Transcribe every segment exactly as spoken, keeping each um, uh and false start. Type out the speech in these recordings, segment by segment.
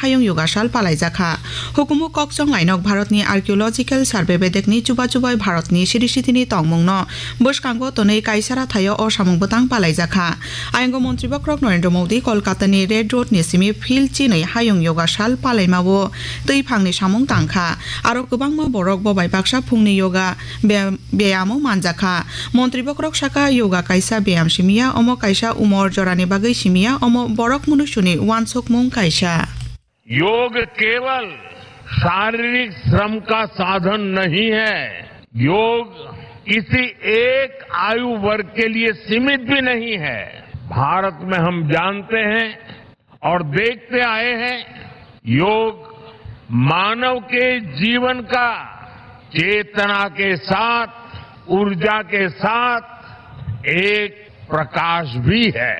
Hayung Yoga Sal palaijakha. Hukumu kokchong lainok Bharatni Archaeological Survey bedekni chuba chubai Bharatni siri sitini tongmungno bwskango tonwi kaisara thaio o samung bwtang palaijakha. Ayang o Montri Bokhorok Narendra Modi Kolkatani Red Roadni simi field chinwi Hayung Yoga Sal palaimao twi phangni samung tangkha. Aro kwbangma borok bo bai baksa phungni yoga be-, beyamo manjakha. Montri Bokhorok saka, yoga kaisa beyam simiya, omo kaisa umor jorani bagwi simiya, omo borok munuisuni wansukmung kaisa. योग केवल शारीरिक श्रम का साधन नहीं है। योग किसी एक आयु वर्ग के लिए सीमित भी नहीं है। भारत में हम जानते हैं और देखते आए हैं, योग मानव के जीवन का चेतना के साथ, ऊर्जा के साथ एक प्रकाश भी है।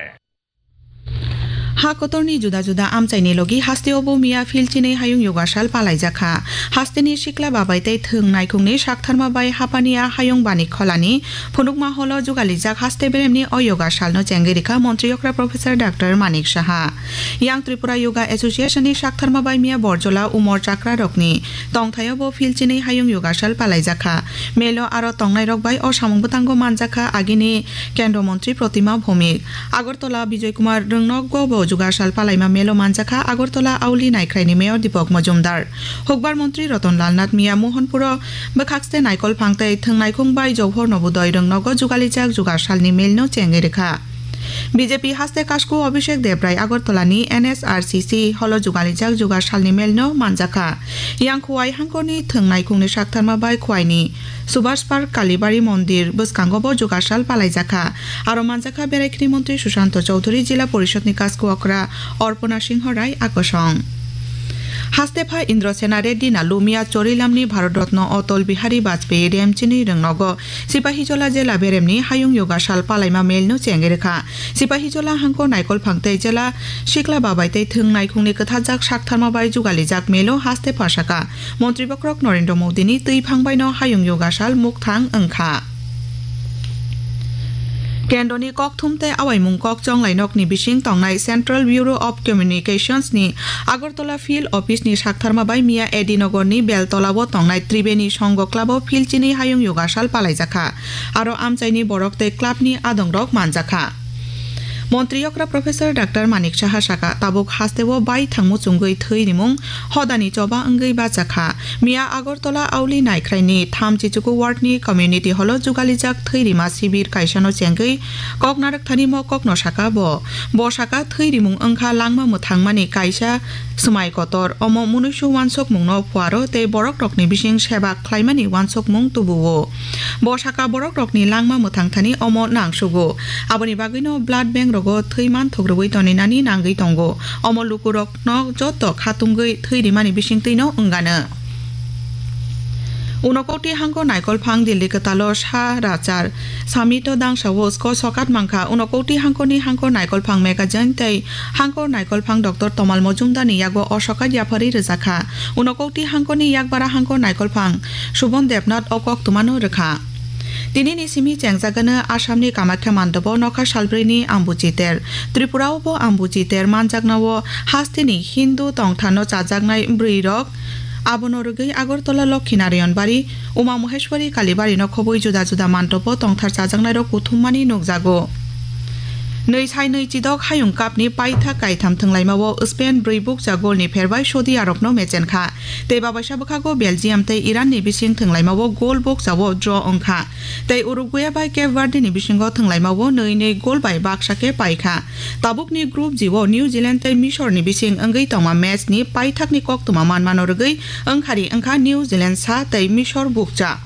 Ha kotorni juda juda amchaini logi hasteo bo miya field chinwi Hayung Yoga Sal palaijakha. Hasteni sikla babai tei thwng naikhungni saktharma bai hapaniya Hayung Bani Kholani phunukma holo jugalijak haste beremni o yoga salno chengwi rikha Montri Okra Professor Doctor Manik Saha. Yang Tripura Yoga Association ni saktharma bai miya Borjola Umor Chakra rokni tongthaio bo field chinwi Hayung Yoga Sal palaijakha. Melo aro tongnairok bai o samung bwtango manjakha agini Kendra Montri Protima Bhowmik. Agartala Bijoy Kumar Rwngnokgo bo Yoga Sal palaima melo manjakha Agartala Auli Naikhraini Mayor Deepak Majumdar. Hukbar Montri Ratan Lal Nath miya Mohanpuro bwkhakste naikolphang tei thwng naikhung bai Johor Nobodoi Rwngnogo jugalijak Yoga Salni melno chengwi rikha. B J P haste kasku Abhishek Debrai Agartala ni N S R C C holo jugalijak Yoga Salni melno manjakha. Yang Khowai hangkorni thwng naikhungni saktharma bai Khowai ni Subhash Park Kalibari Mondir bwskango bo Yoga Sal palaijakha. Aro manjakha Beraikhini Montri Sushanta Chowdhury, Jila Porishod ni kasku okra Arpana Singha Rai akosong. Hastepha Indrasena Reddy Nalumia Chorilamni Bharat Ratna Atal Bihari Vajpayee Remchini Rwngnogo Sipahijola jela beremni Hayung Yoga Sal palaima melno chengwi rikha. Sipahijola hangko naikolphang tei jela sikla babai tei thwng naikhungni kwthajak saktharma bai jugalijak melo haste phasaka Montri Bokhorok Narendra Modini twi phang baino Hayung Yoga Sal mukthang wngkha. Kendroni kokthum tei awaimung kokchong lainokni bising tongnai Central Bureau of Communications ni Agartala Field Office ni saktharma bai miya A D Nogor ni Beltola o tongnai Tribeni Songho Club o field chini Hayung Yoga Sal palaijakha. Aro amchaini borok tei club ni adongrok manjakha. Montri okra Professor Doctor Manik Saha saka, tabuk hasteo bai thangmu chungwi thwi rimung hodani choba wngwi bachakha. Miya Agartala Auli Naikhrai ni thamchi chuku ward ni community hall o jugalijak thwi rima sibir kaisano chengwi kok narwk thani mo kokno saka bo. Bo saka thwi rimung wngkha langma mwthangmani kaisa swmai kotor, omo munuisu wansukmungno phuaro tei borokrokni bising seba khlaimani wansukmung tubuo. Bo saka borokrokni langma mwthang thani omo nangsugo. Aboni bagwino blood bank rogo thwi manthok rwui toninani nangwi tongo. Omo lukurokno joto khatungwi thwi rimani bisingtwino wngano. Unokoti hangko naikolphang Delhi kwtalo sa rachar. Samito dangsao sko sokat mankha. Unokoti hangkoni hangko naikolphang magazine tei hangko naikolphang Doctor Tomal Mojumdar ni yago o sokat yapharwi rwjakha. Unokoti hangkoni yakbara hangko naikolphang Subon Debnath o koktwmano rwkha. Tinini simi chengjagano Assamni Kamakhya mandobo nokha salbrwini ambuchi ter. Tripurao bo ambuchi ter manjaknao hasteni Hindu tongthano chajaknai bwrwirok. Abono rwgwi Agartala Lokhinarayan Bari, Uma Maheshwari Kalibari no khobwi juda juda mantopo tongthar chajaknairok kuthummani nukjago. Nwi sai nwi chidok hayung kapni paithak kaitham thwnglaimao Spain brwi bukcha golni pherbai Saudi Arabno mechenkha. Tei babaisa bwkhago Belgium tei Iranni bising thwnglaimao gol bukchao draw wngkha. Tei Uruguay bai Cape Verdeni bisingo thwnglaimao nwi nwi gol bai baksa khe paikha. Tabukni Group G o New Zealand tei Misorni bising wngwi tongma matchni paithakni koktwma manmano rwgwi wngkhari wngkha New Zealand sa tei Misor bukcha.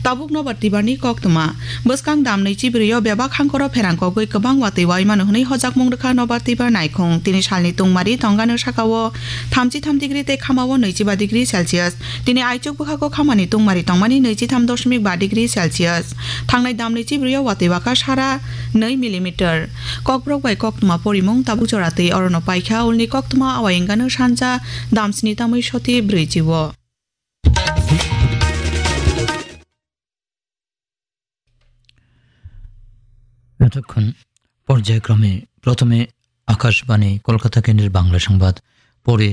Tabuk nobar tibarni koktwma. Bwskang dam nwichi brwi o bebak hangkoro pherang kogwi kwbang watwi waimano hwnwi hojakmung rwkha nobar tibar naikhung. Tini salni tungmari tongano sakao thamchi tham degree tei khamao nwichi ba degree Celsius. Tini aichuk bwkhako khamani tungmari tongmani nwichi tham dosmik ba degree Celsius. Thangnai dam nwichi brwi o watwi waka sara nwi millimeter. Kokborok bai koktwma porimung tabuk jora twi orono paikha, ulni koktwma awai wngano sanja dam sni tamwi soti brwichi o. এতক্ষণ পর্যায়ক্রমে প্রথমে আকাশবাণী কলকাতা কেন্দ্রের বাংলা সংবাদ, পরে